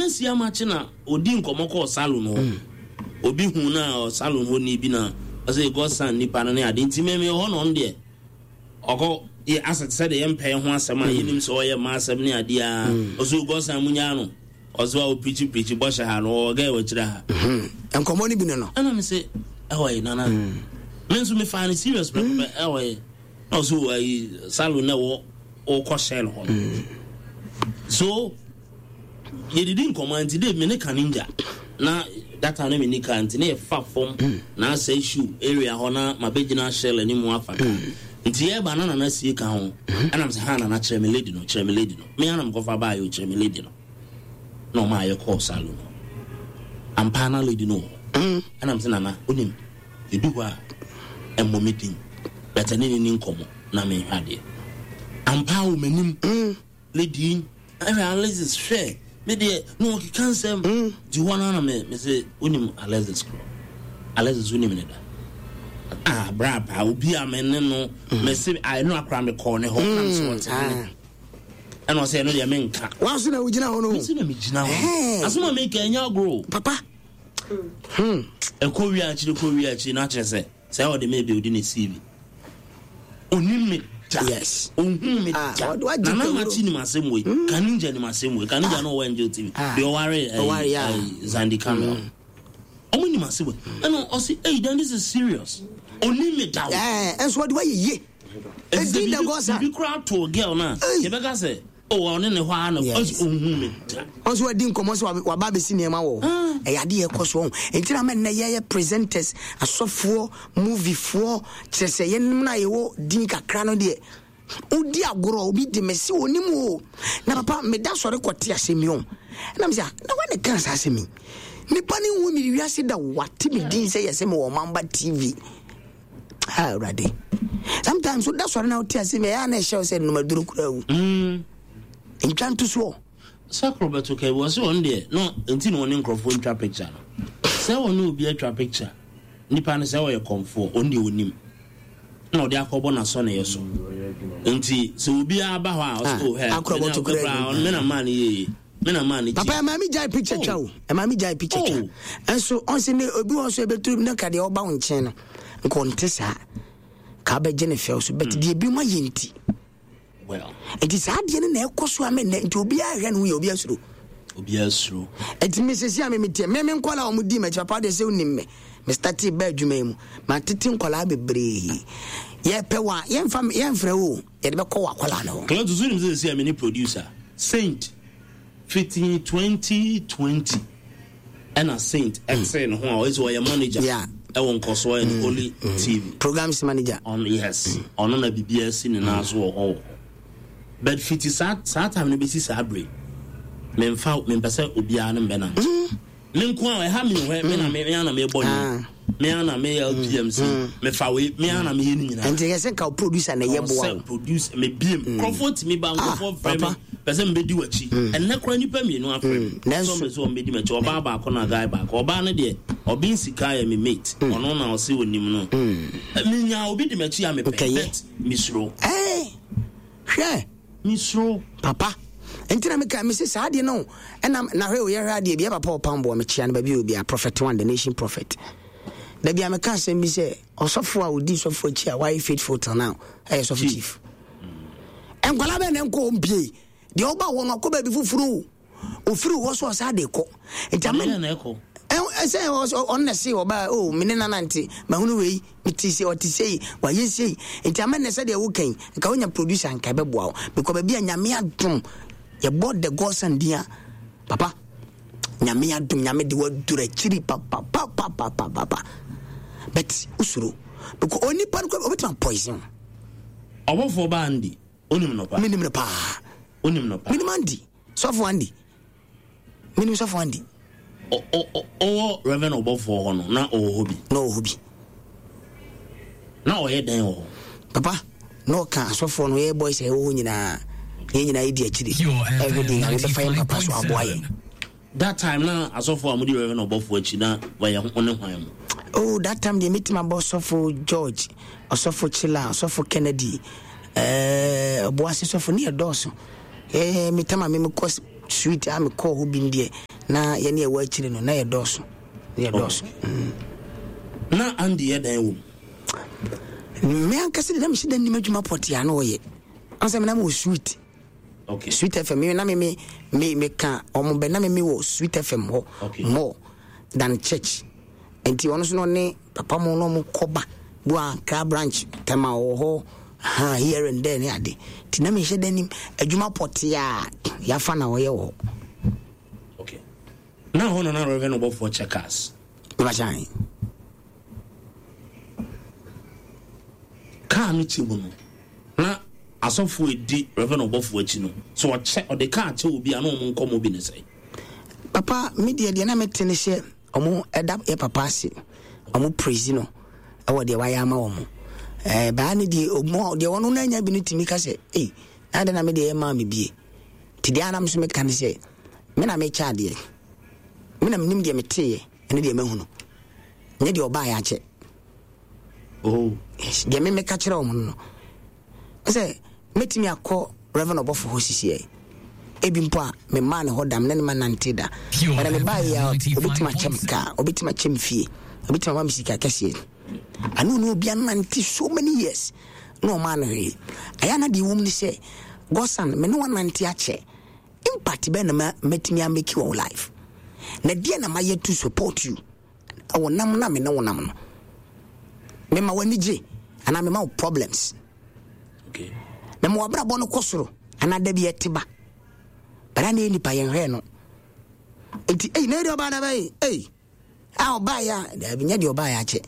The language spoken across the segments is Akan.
Nana si amakye na odi nkɔmmɔ kɔɔ salon hɔ. Mm. Obi hu na salon hɔ ni bi na ɔsɛ Godson nipa no ne ade nti mɛmɛ hɔ na ɔno deɛ ɔkɔ yɛ asɛ te sɛ deɛ yɛmpɛ ho asɛm a mm. yɛnim sɛ ɔyɛ mma asɛm ne adeɛ a mm. ɔsɛ Godson mu nyaa no ɔsɛ wa ɔpirikyi pirikyi bɔhyɛ ha no ɔwɔ gɛ wɔ akyire ha. Mm-hmm. Nkɔmmɔ no bi no no. Ɛna me sɛ ɛwɔ yi nana me nso mefaa no serious pɛpɛpɛ ɛwɔ yi. Na ɔsɛ o ayi salon na ɛwɔ ɔkɔ shell hɔ no mm. So yɛdidi nkɔmɔ nti de me ne kaninja na data no me ni ka nti ne yɛfa fam mm. na asɛ shoe area hɔ na mabɛgyina shell anim afa ka mm. Nti yɛba na nana sie ka ho ɛnam sɛ ha nana kyerɛ me lady no, kyerɛ me lady no, me anam kɔfa baayɛ o, kyerɛ me lady no na ɔma ayɛ kɔɔ salon no ampa na lady no wɔ hɔ. Ɛnam sɛ nana onim Edu hɔ a, ɛmmɔ me din, but ɛne no nni nkɔmmɔ na menhwɛ adeɛ. Ampa ara wɔ m'anim, lady yi, ɛhwɛ Alexis, hwɛ, me deɛ, na ɔkeka nsɛm. Nti hɔ no ara na me, me se, wonim Alexis korɔ? Alexis, wonim no da? Ah, bra paa, obi a me ne no, me se, ah, ɛno akora mekɔɔ ne hɔ, na me se ɔte ne. Ɛna ɔsɛ, ɛno deɛ menka. Wa so na wogyina hɔ no? Me se na megyina hɔ. Asɛm a meka ɛnyɛ agorɔ o. Papa. Hmm. Ɛkɔ wie akyiri kɔ wie akyiri na akyerɛ sɛ sɛ ɔde me ebi ne CV. Onim me da. Yes. Ohun me ah, da. Nana Makyi nim asɛm wei. Hmm. Kaninja nim asɛm wei. Kaninja ah. no ɔwɔ Angel TV. Ah. Deɛ ɔware ɛyi ɛyi Zandi Kamel. Hmm. Ɔmo nim asɛm wei. Ɛna ɔsi hey, then this is serious. Onim me da o. Ɛɛ ɛnso ɔde wa yɛ yie. Edi na gɔsa. Bibi kura to girl na. Yɛbɛka sɛ. Oh, ɔne ne hɔ ara na ɔsi ohun me da. Ɔnso wadi nkɔmɔ sɛ waba abɛsi nneɛma wɔ hɔ. Ah. Ɛyɛ adeɛ ɛkɔ so ɔho. Nti na mɛ nnɛ yɛyɛ presenters, asɔfoɔ, moviefoɔ, kyerɛ sɛ yɛnom no a yɛwɔ din kakra no deɛ wodi agorɔ obi de me se onim o na papa meda sɔre kɔte asɛm yi o na mesɛ ah, na wane ka saa asɛm yi nipa ne nhu me wiase da wate me din sɛ yɛsɛ me wɔ ɔmamba TV. Ah, Awurade. Sometimes woda sɔre na wote ase ɛyɛ a na ɛhyɛ wo sɛ nnomaduro koraa wu. Ntwa nto soɔ. Sɛ koro bɛto ka bi wɔse wɔn deɛ no nti na wɔne nkurɔfoɔ ntwa picture no. Sɛ wɔne obi atwa picture nipa no sɛ ɔyɛ kɔmfoɔ ɔno deɛ ɔnim na ɔde akɔbɔ n'asɔneyɛ so nti sɛ obiara ba hɔ a ɔsɛ oh hɛ me na maa no yie. Me na maa ne Papa ɛmaa mi gyae picture twa o. Ɛmaa mi gyae picture twa. Ɛnso ɔnse ne obi wɔ so ebeturu ne ka deɛ ɔba wo nkyɛn no. Nka ɔnte saa. Ka abɛgye ne fɛw so. But deɛ ebi mu ayɛ nti. Well. Nti saa adeɛ no na ɛkɔ so ame nnɛ nti obiara hwɛ ne ho yɛ obiara suro. Obiara suro. Nti me sisi a me me tie me me nkɔla a wɔn di m'akyi papa deɛ sɛ onim me. Me startee baa adwuma yi mu. Ma tete nkɔla bebree. Yɛpɛ wa yɛnfa yɛnfrɛ wo. Yɛde bɛkɔ w'akwadaa no hɔ. Cletus wonim sɛ sɛsi a mene producer Saint fiti 2020 ɛna Saint ɛtee ne ho a ɔyɛ sɛ ɔyɛ manager ɛwɔ nkɔsoɔ and Holy TV programs manager ɔno yes ɔno na biribiara si ne nan so wɔ hɔ wɔ hɔ but fiti saa saa time no bɛsi saa bere memfa mempɛ sɛ obiara ne mbɛnante. Me nko a ɛha me hwɛ me na me me ana me bɔ nnwom me ana me yɛ LPMC me fa wei me ana me yɛ ne nyinaa. Nti yɛ sɛ nka producer na ɛyɛ boa o. Producer me biem nkurɔfoɔ tumi ba nkurɔfoɔ frɛ me pɛ sɛ mbɛdi w'akyi ɛnnɛ koraa nipa mmienu afrɛ me sɛ ɔmpɛ sɛ ɔmbɛdi m'akyi ɔbaa baako na guy baako ɔbaa no deɛ ɔben sika yɛ me mate ɔno na ɔse onim no menya obi di m'akyi a mepɛ but mesuro. Hwɛ. Mesuro. Papa. Nti na meka mese saa adeɛ no ɛna na hwɛ o yɛhwɛ adeɛ bi yɛ papa ɔpam boɔ mekyea no baabi obi a prophet one the nation prophet da bi a meka asɛm bi sɛ ɔsɔfo a ɔdi sɔfo akyi a wayɛ faithful till now ɛyɛ sɔfo chief nkwalaa bɛn na nkɔ ɔmpie deɛ ɔba hɔ no ɔkɔ baabi foforɔ o ofiri hɔ so ɔsan de kɔ nti ama ɛsɛ ɔno na se ɔbaa o mene nana nti mahunu wei mete se ɔte sei wayɛ sei nti ama nnɛ sɛdeɛ wokan nka wonya producer nka ɛbɛboa wo because baabi a nyame adom yɛbɔ the godson din a papa nyame adom nyame de waduru akyiri papapapapapapa but wosuro because onipa no ɔbɛtumi poison ɔbɔfoɔ baa ndi wonim no paa menim no paa wonim no paa menim andi Sɔfo Andy. Menim Sɔfo Andy. Ɔwɔ Reverend ɔbɔfoɔ hɔ no, na ɔwɔ hɔ bi. Na ɔwɔ hɔ bi. Na ɔyɛ dɛn wɔ hɔ? Papa, na ɔka asɔfoɔ no, yɛ boys a ɛwɔ hɔ nyinaa. Yɛn nyinaa yɛdi akyire. Ɛhwɛ deɛ Nyame bɛfa yɛn papa so aboa yɛn. That time na asɔfoɔ a modi Reverend ɔbɔfoɔ akyi na wɔyɛ ho ne hwan mu? Oh, that time deɛ mɛtumi abɔ Sɔfo George, Ɔsɔfo Chila, Ɔsɔfo Kennedy, ɛɛ eh, Ɔboase Sɔfo ne yɛ dɔɔso. Eh, me tam a me mekɔ street a mekɔɔ hɔ bi deɛ. Na yɛne ɛwɔ akyire no na yɛdɔɔso. Na yɛdɔɔso. Oh. Na Andy yɛ dɛn wɔ mu? Me ankasa de na mehyɛ da nim adwuma pɔtee a na ɔyɛ. Ansa me na mewɔ sweet. Okay. Sweet FM me na me me me meka ɔmo bɛ na me me wɔ Sweet FM hɔ okay. more than church. Nti ɔno so no ne papa mo na ɔmo kɔba bu Accra branch tɛma ɔwɔ hɔ ha here and there ne ade. Nti na mehyɛ da nim adwuma pɔtee a yafa na ɔyɛ wɔ hɔ. Okay. Na hɔ na na Reverend Ɔbɔfoɔ kyɛ cars. Mebakyɛ. Kaa no kyɛ mu no na asɔfoɔ a ɛdi Rev. Ɔbɔfoɔ akyi no, sɛ ɔkyɛ, ɔde kaa kyɛ obi a, na wɔn nkɔmmɔ bi ne sɛn? Papa, me deɛ deɛ na mete ne sɛ wɔn ɛda yɛ papa ase, wɔn praise no ɛwɔ deɛ wayɛ ama wɔn. Ɛɛ baa ne deɛ ɔmo deɛ wɔn no anya bi no tumi ka sɛ, ei, na adɛn na me deɛ ɛmaa me bie. Ti deɛ anam so meka ne sɛ, me na mekyɛ adeɛ, me na menim deɛ meteeɛ ɛne deɛ mahunu, nyɛ deɛ ɔbaeɛ akyɛ. Oh. Yes, deɛ me meka kyerɛ wɔn no sɛ mɛtumi akɔ Reverend ɔbɔfo hɔ sisiɛ ebi mpo a memaa ne hɔ da mene ne ma nante da bɛna mebaa yi a obɛtumi akyɛ me kaa obɛtumi akyɛ me fie obɛtumi ama me sika kɛseɛ ano ne obi anante so many years na ɔmaa no hwee ɛyɛ na deɛ wɔm ne sɛ gɔsan me ne wanante akyɛ impact bɛn na mɛtumi ameki wɔ life na deɛ na mayɛ to support you Wɔ nam na me ne wo nam no, mema w'ani gye anaa mema wo problems. Okay. Mema w'abrabɔ no kɔ soro anaa da bi ɛte ba. Bɛrɛ na yɛ nipa yɛn hwɛ no. Nti eyi na ɛdi ɔbaa na bɛyi eyi a ɔbaa yɛ a daabi nyɛ deɛ ɔbaa yɛ akyɛ.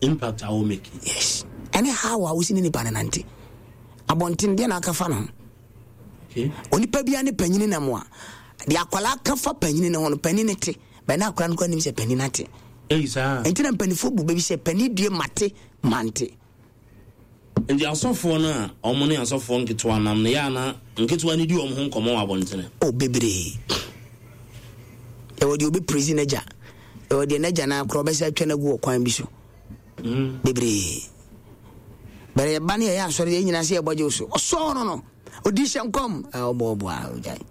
Impact a wo make. Yes. Ɛne how a wosi ne nipa no nante. Abɔnten deɛ na aka fa no ho. Okay. Onipa biara ne panyini nam a deɛ akwadaa ka fa panyini no ho no panyini no te. Bɛn na akora no kora nim sɛ panin ate. Eyi saa. Nti na mpanimfoɔ bu bɛ bi sɛ panin due mate mante. Nti asɔfoɔ no a wɔn ne asɔfoɔ nketewa nam no yɛ ana nketewa no di wɔn ho nkɔmmɔ wɔ abɔntene? O bebree. Ɛwɔ deɛ obi prezi n'agya. Ɛwɔ deɛ n'agya no akora ɔbɛsɛ atwa no agu wɔ kwan bi so. Bebree. Bɛrɛ yɛba ne yɛyɛ asɔre yɛn nyinaa sɛ yɛbɔ gye so. Ɔsɔɔ no no. Odi hyɛ nkɔm. Ɔbɔ ɔbɔ a ɔgyae.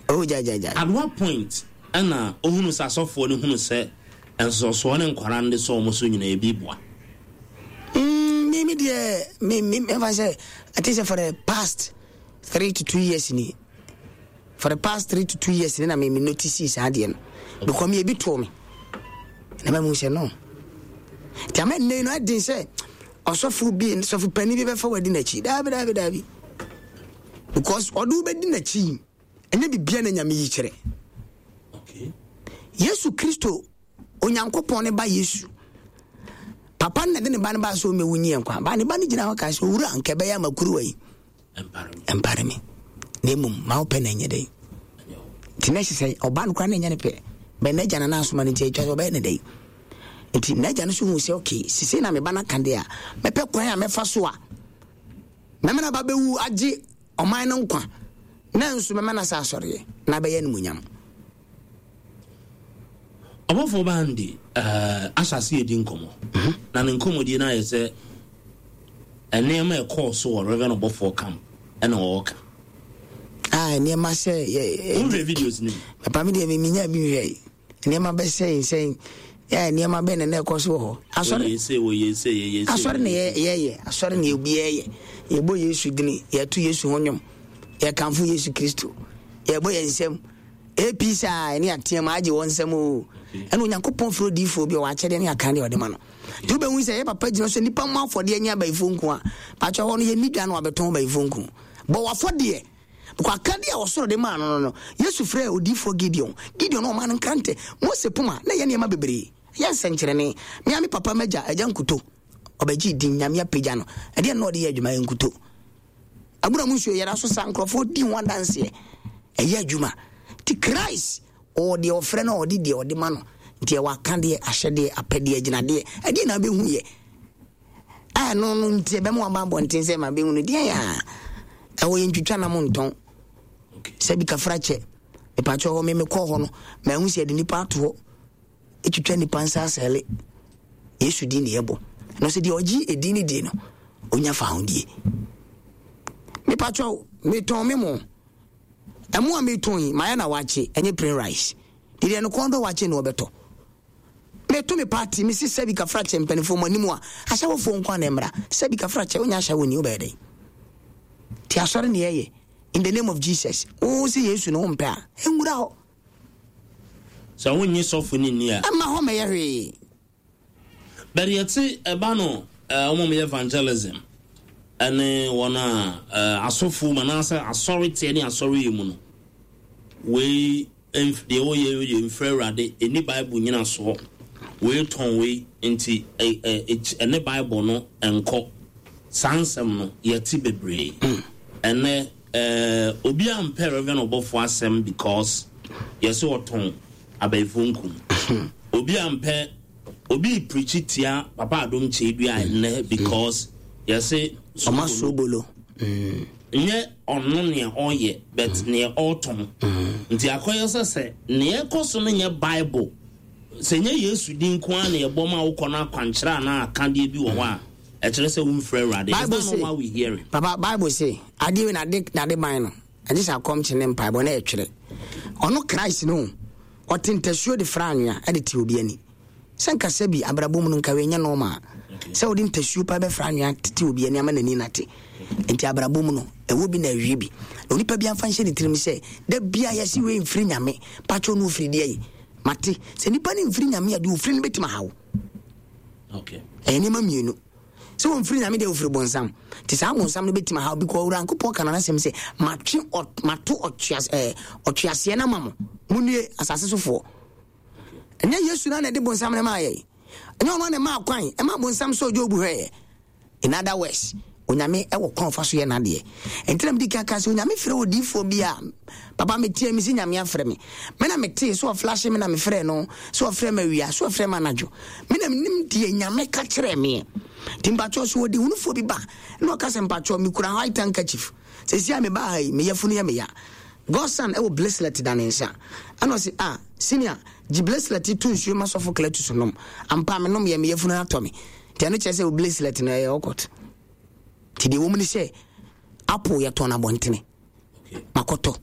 Oh, gyae, gyae, gyae. At what point ɛna ohunu sɛ asɔfoɔ no hunu sɛ nsɔsoɔ ne nkwadaa no de sɔ wɔn so nyinaa ebi boa? Me me deɛ me me mɛfa sɛ I think sɛ for the past 3 to 2 years ni, for the past 3 to 2 years ni na me me notice saa adeɛ no because me ebi too me na mɛ mu sɛ no nti ama nne no ɛden sɛ ɔsɔfo bi sɔfo panin bi bɛfa wadi n'akyi daabi daabi daabi because ɔde wobɛdi n'akyi ɛnyɛ bibia na Nyame yi kyerɛ. Yesu Kristo Onyankopɔn ne ba Yesu papa no na de ne ba no baa sɛ ɔmmɛwu nyi yɛn nkwa ba ne ba no gyina hɔ kaa sɛ owura nka ɛbɛyɛ ama kuruwa yi ɛmpare me na mmom ma wopɛ na ɛnyɛ dɛn. Nti na ɛhyɛ sɛ ɔba no koraa na ɛnyɛ ne pɛ bɛn n'agya no asoma no nti atwa sɛ ɔbɛyɛ ne dɛn. Nti n'agya no so hu sɛ okay sesei na me ba no aka deɛ a mɛpɛ kwan a mɛfa so a mɛma no aba bɛwu agye ɔman no nkwa na nso mɛma no asa asɔreɛ na abɛyɛ animuonyam. Ɔbɔfoɔ Bandi ahyɛ ase redi nkɔmmɔ, na ne nkɔmmɔdie no ayɛ sɛ nneɛma a ɛkɔɔ so wɔ Reverend Ɔbɔfoɔ camp ɛna ɔreka. Ah, nneɛma sɛ yɛ. Wonhwɛ videos no bi? Papa mi deɛ mi nya bi nhwɛ. Nneɛma bɛsɛn sɛn yɛ nneɛma bɛn na na ɛkɔ so wɔ hɔ. Asɔre wɔyɛ se wɔyɛ se yɛyɛ se. Asɔre na yɛyɛ asɔre na obi yɛyɛ yɛbɔ Yesu dini yɛto Yesu ho nnwom yɛkamfo Yesu Kristo yɛbɔ yɛn nsam AP saa ɛne ateam agye wɔn nsam o ɛna Onyankopɔn frɛ odiyifoɔ bi a ɔwɔ akyɛdeɛ ne akan deɛ ɔde ma no nti wobɛhu sɛ yɛ papa gyina so nnipa mmɔ afɔdeɛ nyɛ abayifoɔ nku a pakyɛ hɔ no yɛnni dwa no wabɛtɔn abayifoɔ nku bɔ wafɔdeɛ because akadeɛ a ɔsoro de maa no no no Yesu frɛ odiyifoɔ Gideon. Gideon no ɔmaa no nkrantɛ, Mose poma, na ɛyɛ nneɛma bebree, ɛyɛ nsɛnkyerɛnne. Me ara me papa m'agya, agya nkuto, ɔbɛgyee din, Nyame apagya no. Ɛdeɛn na ɔde yɛ adwuma? Ɛyɛ nkuto. Abura mu nsuo yɛda so sa, nkurɔfoɔ di ho adanseɛ. Ɛyɛ adwuma. Nti Christ ɔwɔ deɛ ɔfrɛ no a ɔde deɛ ɔde ma no. Nti ɛwɔ akadeɛ, ahyɛdeɛ, apɛdeɛ, agyinadeɛ. Ɛdeɛn na abɛhu yɛ? A ɛno no nti ɛbɛma waba abɔnten sɛ ma bɛhu no deɛ a ɛwɔ yɛ ntwitwa nam ntɔn sɛ bi kafra kyɛ mepakyɛ hɔ me mekɔ hɔ no mahu sɛ yɛde nipa ato hɔ ɛtwitwa nipa nsa asɛle Yesu din ne yɛbɔ no sɛ deɛ ɔgye ɛdin no die no ɔnya fa ho die. Mepakyɛ metɔn me mo. Ɛmo a metɔn yi, mayɛ na wakye, ɛnyɛ plain rice. Deɛ no kɔn dɔ wakye na ɔbɛtɔ. Meto me party, mesi sɛbi kafra kyɛ mpanimfoɔ mo anim a, ahyɛwofoɔ nko a na ɛmmra. Sɛbi kafra kyɛ, wonya ahyɛwoni, wobɛyɛ dɛn? Ti asɔre ne yɛyɛ. In the name of Jesus. Wo sɛ Yesu no wompɛ a, ɛnwura hɔ. Sɛ wonnye sɔfo no nni a. Ɛmma hɔ mmɛyɛ hwee. But yɛte ɛba no wɔn a wɔyɛ evangelism ɛne wɔn a asɔfo mu anaasɛ asɔre teɛ ne asɔre yɛ mu no, wei deɛ wɔyɛ yɛ mfiri Awurade, ɛni Bible nyinasoɔ, wei tɔn wei nti ɛne Bible no nkɔ. Saa nsɛm no yɛte bebree. Ɛnɛ Eh obiaa mpɛ Rev ɔbɔfoɔ asɛm because yɛse ɔtɔn abayifoɔ nkum. Obiaa mpɛ obi preachi tia Papa Adom Kyei-Duah ɛnnɛ because yɛse Ɔma soobolo. Nyɛ ɔno nea ɔyɛ but neɛ ɔtɔn. Nti akɔyɛ sɛ sɛ neɛ ɛkɔ so no nyɛ Bible, sɛ nyɛ Yesu din nko ara na yɛbɔ ma wokɔ no akwankyerɛ anaa akadeɛ bi wɔ hɔ a, Ɛkyerɛ sɛ womfiri Awurade. Is Bible that se, not what we hearing? Papa, Bible se, adeɛ wei nade nade ban no, ɛgye sɛ akɔmkye ne mpaebɔ na ɛtwerɛ. Ɔno Christ no, ɔte ntasuo de fra anwea de te obi ani. Sɛ nka sɛ bi abrabɔ mu no nka wei nyɛ normal. Sɛ wode ntasuo pa bɛfra anwea tete obi ani ama n'ani nate. Nti abrabɔ mu no, ɛwɔ bi na awie bi. Na onipa bi amfa nhyɛ ne tirim sɛ, da bia yɛse wei mfiri Nyame, pakyɛw no ofiri deɛ yi. Mate, sɛ nipa no mfiri Nyame a, deɛ ofiri no bɛtumi ahaw. Ɛyɛ nneɛma mmienu. Sɛ wɔmfiri Nyame deɛ wɔfiri bonsam. Nti saa bonsam no bɛtumi ahaw bi kɔ Onyankopɔn ka n'asɛm sɛ matwe mato ɔtweaseɛ no ama mo. Monnue asase sofoɔ. Ɛnyɛ Yesu na na ɛde bonsam no maa yɛn. Ɛnyɛ ɔno na ɛmaa kwan ɛma bonsam sɛ Job hwɛeɛ. In other words, Onyame wɔ kwan ɔfa so yɛ n'adeɛ. Nti na medi kan ka sɛ Onyame frɛ odiyifoɔ bi a, papa meteɛ me si Nyame afrɛ me. Me na metee sɛ ɔflashe me na mefrɛ no, sɛ ɔfrɛ me awia, sɛ ɔfrɛ me anadwo. Me na menim deɛ Nyame ka kyerɛɛ meɛ. Nti mpakyɛw sɛ ɔdehunufoɔ bi ba na ɔka sɛ mpakyɛw mekura white handkerchief, seesei a mebaa ha yi me yafunu yɛ me ya. Godson wɔ bracelet da ne nsa. Ɛna ɔse ah senior gye bracelet yi to nsuo ma sɔfo Cletus nom. Ampa menom yɛ me yafunu atɔ me. Nti ɛno kyerɛ sɛ wo bracelet no ɛyɛ ɔkɔt. Nti deɛ ɛwɔ mu ne sɛ apple yɛtɔn no abɔntene. Makɔtɔ.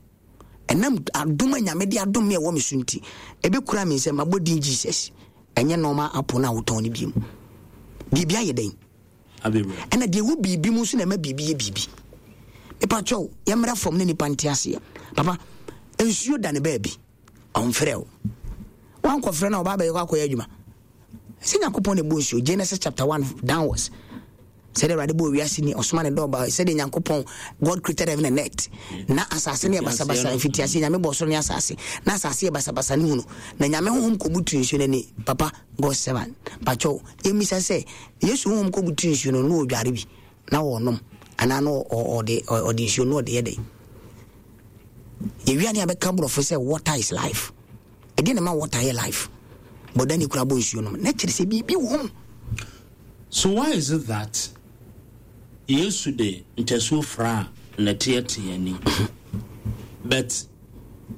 Ɛnam adom a Nyame de adom me ɛwɔ me so nti, ɛbɛkura me nsam mabɔ din Jesus. Ɛnyɛ normal apple no a wotɔn no biom. Biribi ayɛ dɛn? Ɛna deɛ ɛwɔ biribi mu nso na ɛma biribi yɛ biribi. Mepa kyɛw, yɛmmra fam ne nipa nte aseɛ. Papa, nsuo da ne baabi. Ɔmfrɛ wo. Wankɔfrɛ no a ɔba abɛyɛ kɔ akɔyɛ adwuma. Sɛ Nyankopɔn na ɛbɔ nsuo, Genesis chapter 1 downwards. Sɛdeɛ Awurade bɔɔ wiase ni, ɔsoma ne dɔba, sɛdeɛ Nyankopɔn, God created heaven and earth. Na asase no yɛ basabasa, mfitiaseɛ Nyame bɔɔ soro ne asase. Na asase yɛ basabasa ne hunu. Na Nyame honhom kɔbutu nsuo no ani. Papa, God servant, pakyɛw, yɛmmisa sɛ, Yesu honhom kɔbutu nsuo no, na ɔdware bi, na ɔnom, anaa na ɔde ɔde nsuo no ɔde yɛ dɛn? Yɛwia ne abɛka borɔfo sɛ water is life. Ɛdeɛ na ɛma water yɛ life. Bɔda ne kura bɔ nsuo nom. Na kyerɛ sɛ biribi wɔ mu. So why is it that Yesu de ntasuo fraa nnɛteɛ tee ani but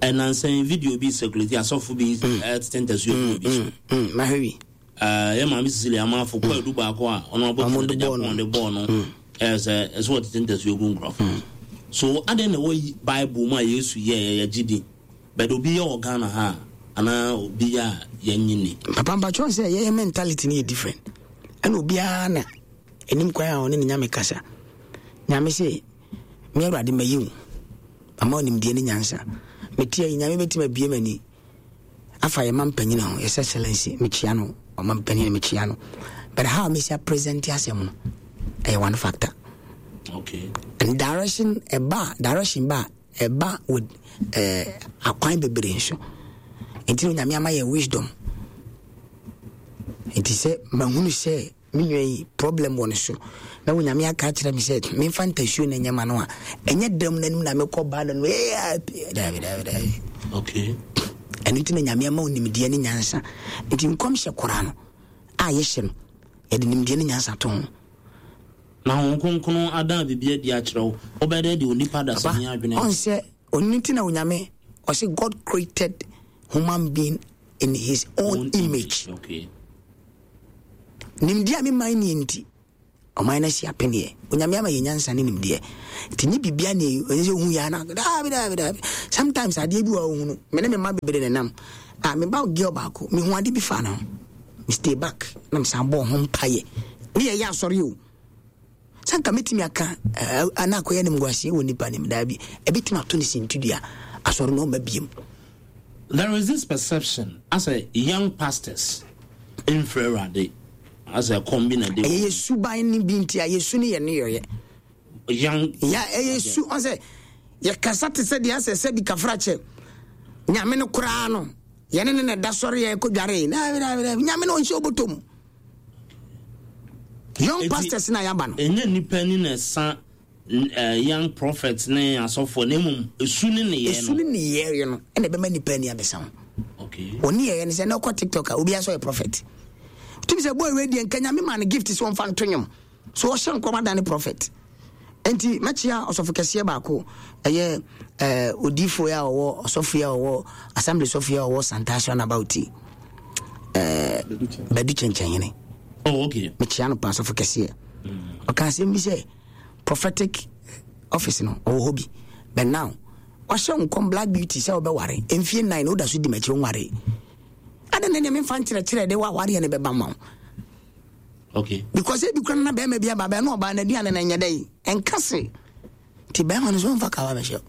ɛnansa yi video bi circulate asɔfo bi ɛtete ntasuo gu obi so. Mahwɛ bi. Yɛ maame Cecilia Amafo kɔ adu baako a ɔno abɔ de Japan de bɔɔ no ɛyɛ sɛ ɛsɛ wɔtete ntasuo gu nkurɔfo. So adɛn na ɛwɔ Bible mu a Yesu yɛɛ yɛgye di? But obi yɛ wɔ Ghana ha a anaa obi yɛ a yɛnye ni. Papa mpakyɛw sɛ yɛyɛ mentality no yɛ different ɛna obiara na ɛnim kwan a ɔne ne nyame kasa. Nyame se me awurade mayi wo ama onimdeɛ ne nyansa. Metia yi nyame bɛtumi abie m'ani afa yɛ ma mpanyin ho yɛ excellency mekyia no ɔma mpanyin mekyia no but how mesi present asɛm no ɛyɛ one factor. Okay. And direction ɛba direction ba Ɛba with eh, akwan bebree nso. Nti na Onyame ama yɛ wisdom. Nti sɛ mahunu sɛ me nua yi problem wɔ ne so na Onyame aka akyerɛ me sɛ memfa ntasuo na ɛnyɛ ma no a, ɛnyɛ dam no anim na mekɔ ba no no daabi daabi daabi. Okay. Ɛno nti na Nyame ama wo nimdeɛ ne nyansa. Nti nkɔmhyɛ koraa no a yɛhyɛ no, yɛde nimdeɛ ne nyansa to ho. Na Honhom Kronkron adan biribi adi akyerɛ wo, wobɛyɛ dɛn de onipa dasani adwene Papa, ɔnsɛ, ɔno nti na Onyame, ɔse God created human being in his own, own image. Okay. Nimdeɛ a me man nie nti, Ɔman no asi apeneɛ. Onyame ama yɛ nyansa ne nimdeɛ. Nti nye bibia ne ɛsɛ sɛ ohu yɛ ana. Daabi daabi daabi. Sometimes adeɛ bi wɔ a ohunu. Me ne me mma bebree na nam. Ah, me ba girl baako, me hu ade bi fa ne ho. Me stay back na me san bɔɔ ho mpaeɛ. Ne yɛyɛ asɔre o. Sɛ nka mɛtumi aka eh, na akɔyɛ animguaseɛ wɔ nipa nim daabi. Ɛbɛtumi ato ne sintidua. Asɔre no ɔmma biem. There is this perception asɛ young pastors mfrɛ Awurade asɛ ɛkɔm bi na ɛde Ɛyɛ yɛ suban no bi nti a yɛsu ne yɛ nneyɔeɛ. Young Ya ɛyɛ su ɔsɛ yɛkasa te sɛ deɛ asɛ sɛ bi kafra kyɛ nyame no koraa no yɛne ne na ɛda sɔre yɛ kɔ dware daabi daabi daabi nyame no ɔnhyɛ ɔbɔtɔ mu. Young pastors na yɛaba no. Ɛnyɛ nipa ni na ɛsa young prophets ne asɔfoɔ na mmom esu ne nneyɛɛ no. Esu ne nneyɛɛ no ɛna ɛbɛma nipa ani abɛsa ho. Okay. Wɔn nneyɛɛ no sɛ na ɔkɔ TikTok a obi asɔ yɛ prophet. Tumi sɛ boy wei deɛ nka nyame ma no gift sɛ ɔmfa nto nwom. So ɔhyɛ nkɔm adane prophet. Nti mɛkyea ɔsɔfo kɛseɛ baako ɛyɛ ɛɛ odiifoɔ a ɔwɔ ɔsɔfo a ɔwɔ assembly sɔfo a ɔwɔ Santase roundabout yi. Ɛɛ Badu Kyɛnkyɛnhene. Oh, okay. Mekyea no paa sɔfo kɛseɛ. Ɔka asɛm bi sɛ prophetic office no ɔwɔ hɔ bi but now wahyɛ nkɔm black beauty sɛ wobɛware mfie nnan na woda so di m'akyi wonware adɛn na nea memfa nkyerɛkyerɛ de woawareɛ no bɛba ma wo okay. because ebi kora no na bɛrima bi aba bɛɛ na ɔbaa n'aduane no ɛnyɛ dɛ ɛnka se nti bɛrima no so ɔmfa kawa bɛhyɛ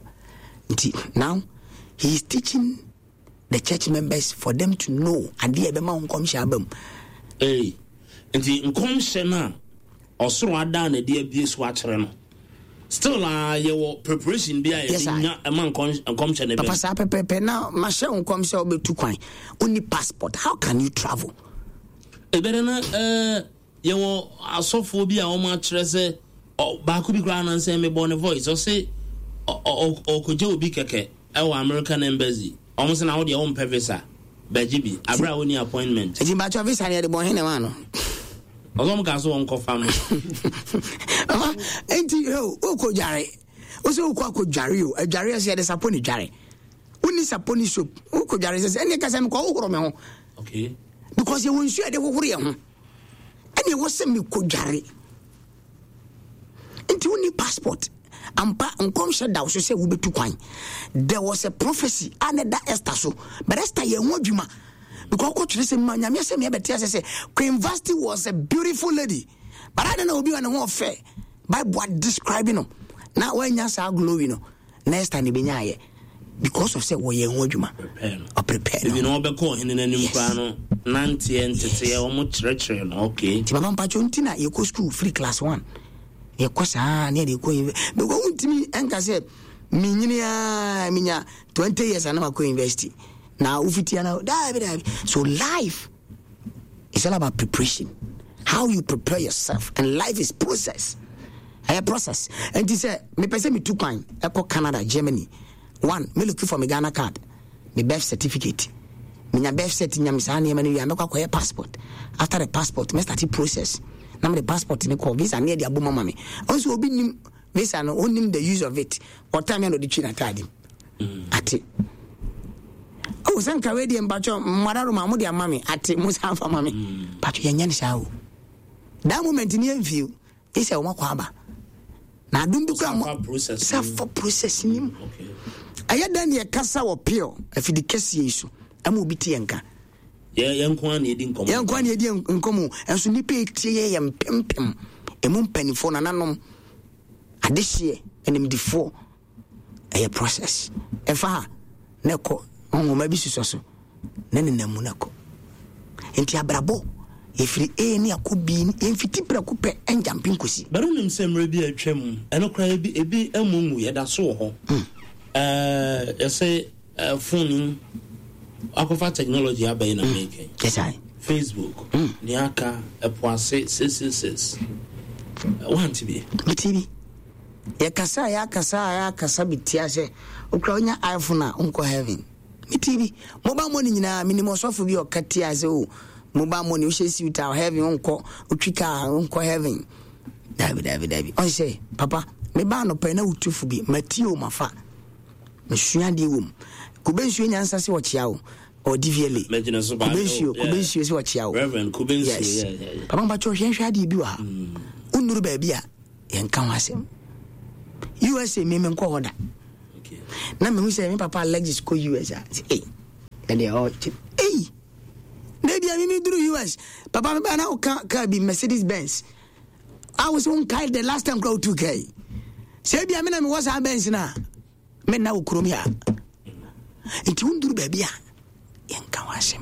nti now he is teaching the church members for them to know adeɛ a ɛbɛma wo nkɔmhyɛ aba mu. Ei, nti nkɔmhyɛ no a ɔsoro adaa no adi abue so akyerɛ no, still a yɛwɔ preparation bi a yɛde nya ɛma nkɔmhyɛ no bɛm. Papa saa pɛpɛpɛ na mahyɛ wo nkɔm sɛ wobɛtu kwan, wonni passport, how can you travel? Ɛbɛdɛ na ɛɛ. Yɛwɔ asɔfoɔ bi a wɔn akyerɛ sɛ baako bi koraa nansɛn me bɔ ne voice ɔse ɔkɔgye obi kɛkɛ ɛwɔ American embassy wɔn sɛ na wo deɛ wompɛ visa bɛgye bi abere a wonni appointment. Eti mpakyɛ visa no yɛde bɔ hene ma no. Ɔsɛ wɔn kaa so wɔn kɔfa mo. Ɔma enti wokɔ dware wosɛ wokɔ akɔ dware o adware ɛsɛ yɛde sapo ne dware wonni sapo ne soap wokɔ dware sɛ sɛ ɛne kasa mekɔ wohoro me ho. Okay. Because yɛwɔ nsuo a yɛde hohoro yɛn ho. Ɛne ɛwɔ sɛ mekɔdware. Nti wonni passport. Ampa nkɔmhyɛ da wo so sɛ wobɛtu kwan. There was a prophecy a na ɛda Esther so. But Esther yɛ ho adwuma. Because ɔkɔtwerɛ sɛ ma nyame asɛm yɛbɛte ase sɛ Queen Vasti was a beautiful lady. But adɛn na obi wɔ ne ho ɔfɛ? Bible describe no. Na wanya saa glory no. Na Esther na ebenyaayɛ because of sɛ wɔyɛ ho adwuma. Ɔprepare no. Ebi na ɔbɛkɔ ɔhene n'anim koraa no nanteɛ nteteɛ wɔn kyerɛkyerɛ no okay. Ti papa mpatsɔ nti na yɛkɔ school free class one yɛkɔ saa ne yɛde kɔ university because wontumi ɛnka sɛ menyini aa menya 20 years ana makɔ university na wofiti ana daabi daabi so life It's all about preparation. How you prepare yourself. And life is process. Ɛyɛ process. Nti sɛ mepɛ sɛ metu kwan ɛkɔ Canada, Germany. One, me looking for me Ghana card, me birth certificate. Menya birth cert nya me saa nneɛma no wie a mɛkɔ akɔyɛ passport. After the passport, mɛ start process. Na mede passport ne kɔ visa ne ɛde abom ama me. Ɔnso obi nim visa no, onim the use of it. Ɔtaa me na ɔde twi n'ataade mu. Ate. Oh, sɛ nka wei deɛ mpakyɛ mmara roma mo de ama me ate mo san fa ma me. Mpakyɛ yɛnyɛ no saa o. That moment ni yɛmfie o. Ɛsɛ wɔn akɔ aba. Na adom bi kura mo safa process ni mu. Ɛyɛ dɛn ne yɛkasa wɔ pure afidi kɛseɛ yi so ɛma obi te yɛn nka. Yɛn nko ara na yɛdi nkɔmmɔ. Yɛn nko ara na yɛdi nkɔmmɔ. Ɛnso nnipa etie yɛ yɛ mpempem. Emu mpanimfoɔ nananom adehyeɛ animdifoɔ. Ɛyɛ process. Ɛfa ha na ɛkɔ nhoma bi susɔ so na nenam mu na ɛkɔ. Nti abrabɔ yɛfiri A ne akɔ B yɛmfiti prɛko pɛ ɛngyampe nkosi. But wonim sɛ mmerɛ bi a atwa mu ɛno koraa ebi ebi mmu ngu yɛda so wɔ hɔ. Ɛɛ yɛsɛ ɛɛ phone yi akɔfa technology aba yi na meka yi. Yes I. Facebook nea aka ɛpo ase 666 wante bi. Mete bi. Yɛkasa a yɛakasa a yɛakasa bi tia sɛ okura wonya iPhone a wonkɔ heaven. Mete bi. Mobile money nyinaa menim ɔsɔfo bi a ɔka tia sɛ o mobile money wohyɛ suit a heaven wonkɔ wotwi car wonkɔ heaven. Dabi dabi dabi. Ɔn sɛ papa meba anɔpa na wotu fo bi matie o mafa. Mesua adeɛ wɔ mu. Kube nsuo nyansa sɛ ɔkyea o. Or DVLA. Mɛgyina so paa. Kube nsuo, kube nsuo sɛ ɔkyea o. Reverend kube nsuo. Yes. Papa mpakyɛ hwɛ hwɛ adeɛ bi wɔ ha. Mm. Wonnuru baabi a yɛnka ho asɛm. USA me menkɔ hɔ da. Na mehu sɛ me papa Alexis kɔ US a, sɛ ei, ɛdeɛ ɔkyɛ ei. Na ebia me meduru US, papa me baa na woka kaa bi Mercedes Benz. A wo sɛ wonkae the last time kora wotu kaa yi. Sɛ ebia me na mewɔ saa Benz no a, menna wo kurom ha. Nti wonduru baabi a yɛnka ho asɛm.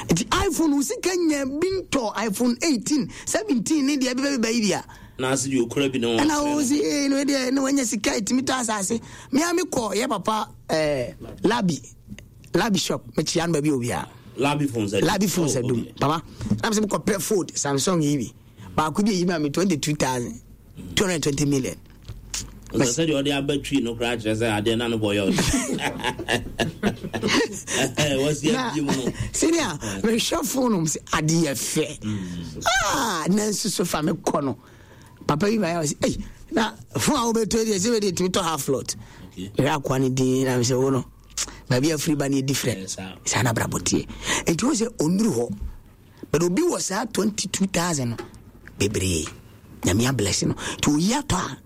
Nti iPhone wo sika nya bi ntɔ iPhone 18, 17 ne deɛ ɛbɛbɛbɛba yi bi a. Na ase deɛ okura bi ne wɔn. Ɛna wo si ee no deɛ ne wanya sika etumi tɔ asase. Me a me kɔ yɛ papa ɛɛ labi labi shop me kyia no baabi obiara. Labi phones adum. Labi phones adum. Oh, okay. Papa na me sɛ me kɔ pɛ fold Samsung yi bi. Baako bi eyi ma me 22,000. 220 million. Ɔsɛ sɛ deɛ ɔde aba twi no koraa kyerɛ sɛ adeɛ na no bɔ yɛ ɔde. Wɔsi abie mu no. Senior, mehwɛ phone mu sɛ adeɛ yɛ fɛ. Ah, nanso so fa me kɔ no. Papa bi ma yɛ ɔsɛ, ei, na phone a wobɛtɔ deɛ sɛ wɛde tumi tɔ half lot. Mehwɛ akoa no din na mesɛ wo no, baabi afiri ba no yɛ different. Saa na abrabɔ teɛ. Nti wo sɛ ɔnnuru hɔ. But obi wɔ saa 22,000 no bebree. Nyame abless no. Nti oyi atɔ a.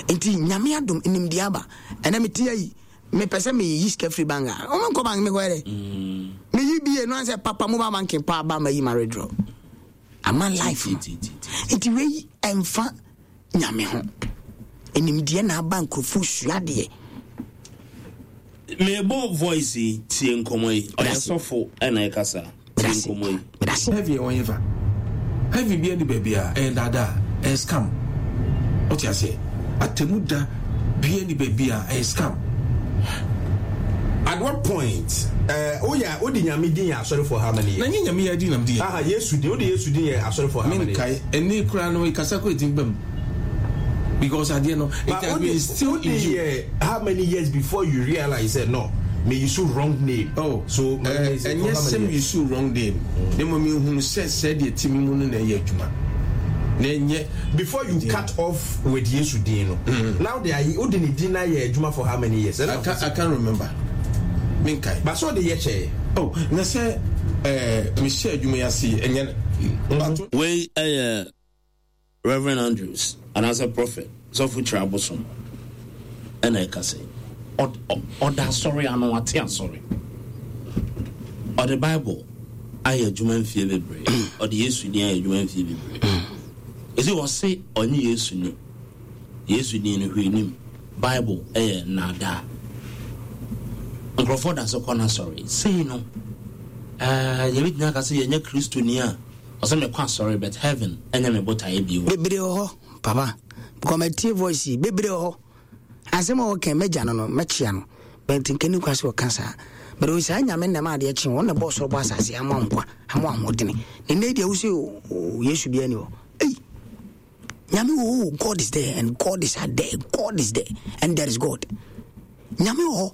Nti Nyame adom nimdeɛ aba. Ɛnɛ mete ayi mepɛ sɛ meyi sika firi bank a ɔmo nkɔ bank mekɔyɛ dɛ. Mm. Meyi bie no ansɛ papa mobile banking pa aba mayi ma withdraw. Ama life no. Nti wei ɛmfa Nyame ho. Nimdeɛ na aba nkurɔfoɔ sua adeɛ. Mebɔ voice yi tie nkɔmɔ yi. Ɔyɛ sɔfo ɛna ɛkasa. Tie nkɔmɔ yi. Heaven ɛwɔ hefa? Heaven bia ni baabi a ɛyɛ daadaa, ɛyɛ scam. Wote aseɛ? Atemu da bia ni baabi a ɛyɛ scam. At what point eh, wo yɛ wo de nyame din yɛ asɔre for how many years? Na nye nyame yɛ din na mede yɛ. Aha Yesu din, wo de Yesu din yɛ asɔre for how many years? Menkae, ɛnne koraa no kasa koraa ɛtumi ba mu because adeɛ no it has been instilled in you. But wo de yɛ how many years before you realize sɛ no me use wrong name? Oh, so eh, ɛnyɛ sɛ me use wrong name, na mmom mehunu sɛ sɛdeɛ ɛte me mu no na ɛyɛ adwuma na ɛnyɛ. Before you cut off with Yesu din no, na wode ayɛ wode ne din ayɛ adwuma for how many years? I can't, I can't remember. Menkae. But sɛ ɔde yɛ kyɛɛ. Oh, na sɛ eh, mehyɛ adwuma yi ase ɛnyɛ. Wei ɛyɛ Reverend Andrews anaasɛ Prophet Sɔfo Kyerɛ Abosom ɛna ɛkasa yi. Ɔda asɔre ano, wate asɔre. Ɔde Bible ayɛ adwuma mfie bebree. Ɔde Yesu din ayɛ adwuma mfie bebree. Ɛsi ɔse ɔnye Yesu ni. Yesu din no hwee nim. Bible ɛyɛ nnaadaa. Nkurɔfoɔ da so kɔ n'asɔre. Sei no, ɛɛ yɛbɛtumi aka sɛ yɛnyɛ Kristoni a ɔsɛ mekɔ asɔre but heaven ɛnyɛ me botaeɛ bio. Bebree wɔ hɔ papa because matie voice yi bebree wɔ hɔ asɛm a wɔka mɛgya no no mɛkyea no but nka ni kwa sɛ ɔka saa but o saa nyame nnam adeɛ kye wɔn na bɔ soro bɔ asase ama nkwa ama ahoɔdene ne nnɛ deɛ wo sɛ Yesu bia ni hɔ ei nyame wɔ hɔ God is there and God is there God is there and there is God nyame wɔ hɔ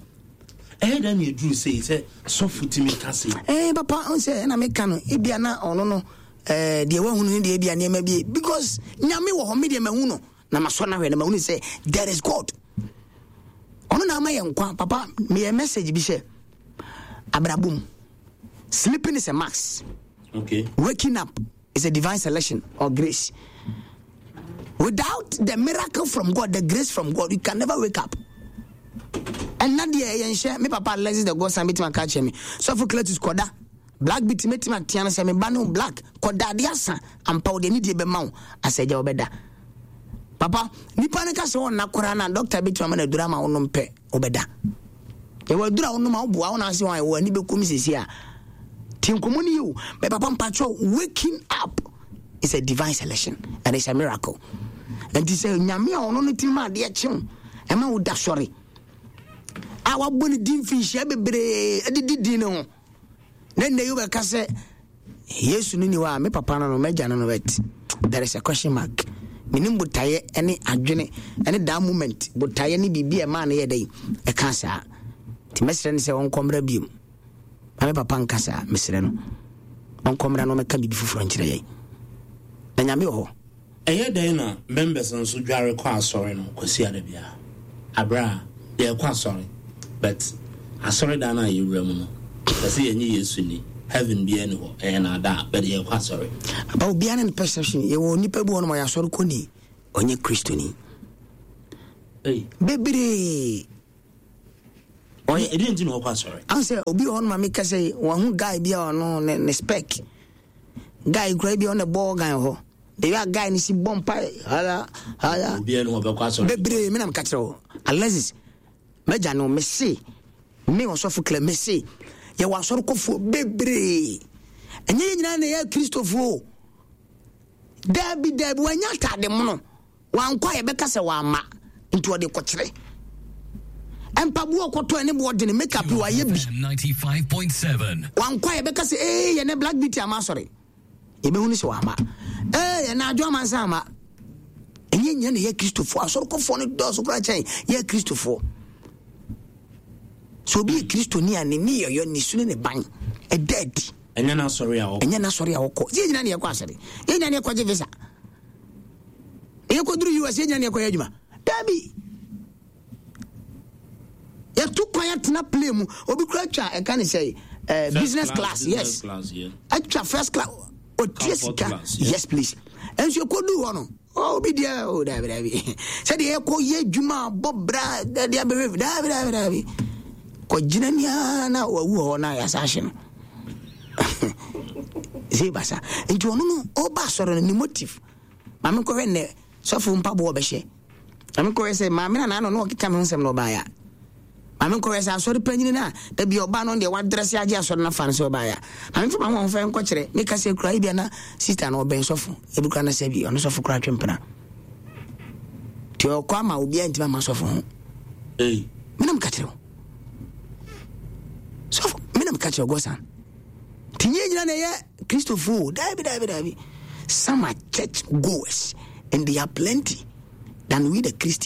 ɛyɛ dɛn na ɛduru sei sɛ sɔfo tumi ka sei eh papa ɔn sɛ ɛna meka no ebia na ɔno no eh deɛ wahunu ne deɛ ebia nneɛma bi because nyame wɔ hɔ me deɛ mahu no na masɔ no ahwɛ na mahunu sɛ there is God ɔno na ama yɛ nkwa papa meyɛ message bi sɛ abrabom sleeping is a max okay. waking up is a divine selection or grace without the miracle from God the grace from God you can never wake up ɛnna deɛ ɛyɛ nhyɛ me papa Alexis the God son bɛtumi aka kyerɛ me sɔfo Cletus kɔda black bi tumi tumi atea no sɛ me ba ne black kɔda adeɛ asa ampa wo deɛ ne deɛ bɛma wo asɛ agya wobɛda papa nipa no ka sɛ ɔnna koraa na dɔkta bɛtumi ama no aduru ama wonom pɛ wobɛda yɛwɔ aduru a wonom a woboa wo na ase wɔn a wɔ ani bɛkum sisi a ti nkɔmmɔ no yɛ o bɛ papa mpakyɛw waking up is a divine selection and it's a miracle nti sɛ nyame a ɔno no tumi ma adeɛ kyew ɛma wo da sɔre a wabɔ ne din mfinhyia bebree de di din no ho na nnɛ yi wobɛka sɛ yesu no ni hɔ a me papa no no m'agya no no but there is a question mark menim botaeɛ ne adwene ne that moment botaeɛ ne biribi a ɛmaa no yɛ dɛn ɛka saa nti mɛsrɛ no sɛ ɔnkɔ mmra biom na me papa nka saa mesrɛ no ɔnkɔ mmra na ɔmɛka biribi foforɔ nkyerɛ yɛn na nyame wɔ hɔ Ɛyɛ dɛn na members nso dware kɔ asɔre no Kwasiada biara? Aberɛ a yɛrekɔ asɔre but asɔredan no a yɛwura mu no yɛse yɛnye Yesu nni. Heaven biara ni hɔ, ɛyɛ naadaa, but yɛkɔ asɔre. Aba obiara ne ne perception. Yɛwɔ nipa bi wɔ hɔ nom ɔyɛ asɔre kɔni, ɔnyɛ Kristoni. Bebree. Ɔyɛ ɛdeɛ nti na ɔkɔ asɔre. Ahun sɛ obi wɔ hɔ nom a meka sɛ wɔn ho guy bi a ɔno ne ne spec. Guy kura bi a ɔno bɔ organ hɔ. The way a guy no si bɔ mpa hala hala. Obiara ni hɔ ɔbɛkɔ asɔre. Bebree me na meka kyerɛ wo. Alexis, mɛgya no mese. Me ɔsɔfo Clem, mese yɛwɔ asɔrekɔfoɔ bebree. Ɛnyɛ yɛn nyinaa na yɛ Kristofoɔ o. Daabi, daabi, wanya atade mono. Wankɔ a yɛbɛka sɛ wamma, nti ɔde kɔkyerɛ. Mpaboa ɔkɔtɔ ɛne boɔ dene, makeup wayɛ bi. Wankɔ a yɛbɛka sɛ ee yɛn Black Beauty ama asɔre. Yɛbɛhu no sɛ wamma. Ee yɛn adwo amansa ama. Ɛnyɛ nyɛ na yɛ Kristofoɔ. Asɔrekɔfoɔ no dɔɔso koraa kyɛn yɛ Kristofoɔ. Sɛ obi yɛ Kristoni a ne ne yɛyɔ ne su ne ne ban ɛda adi. Ɛnyɛ n'asɔre a ɔkɔ. Ɛnyɛ n'asɔre a ɔkɔ. Yɛn nyinaa na yɛkɔ asɔre. Yɛn nyinaa na yɛkɔgye visa. Yɛkɔduru US yɛn nyinaa na yɛkɔyɛ adwuma. Dabi. Yɛtu kwan atena plane mu. Obi kura twa ɛka ne sɛ eh, business class, yes. Atwa first class. Otua sika. Yes please. Ɛnso yɛkɔduru hɔ no Oh, obi deɛ oh daabi daabi sɛdeɛ yɛkɔ yɛ adwuma bɔ bra de abɛhwɛ daabi daabi daabi kɔgyina nia na wawu hɔ na yɛasa ahye no sɛ basa nti ɔno no ɔba asɔre no ne motive maame nkɔhwɛ nnɛ sɔfo mpaboa ɔbɛhyɛ maame nkɔhwɛ sɛ maame na naano na ɔkeka me ho nsɛm na ɔbaeɛ a maame nkɔhwɛ sɛ asɔre panyini no a da bi ɔba no deɛ wadrɛse agye asɔre no afa no sɛ ɔbaeɛ a maame mfa ma ho ɔmfa nkɔkyerɛ meka sɛ kura ebia na sista no ɔbɛn sɔfo ebi kura na sɛ bi ɔno sɔfo kura twe mpena nti ɔkɔ ama obiara ntumi ama sɔfo ho menam ka kyerɛ wo sɔfo menam ka kyerɛ wo gɔsan nti nyɛ nyina na ɛyɛ kristofo daabi daabi daabi. Some are church goers and they are plenty than we the Christians.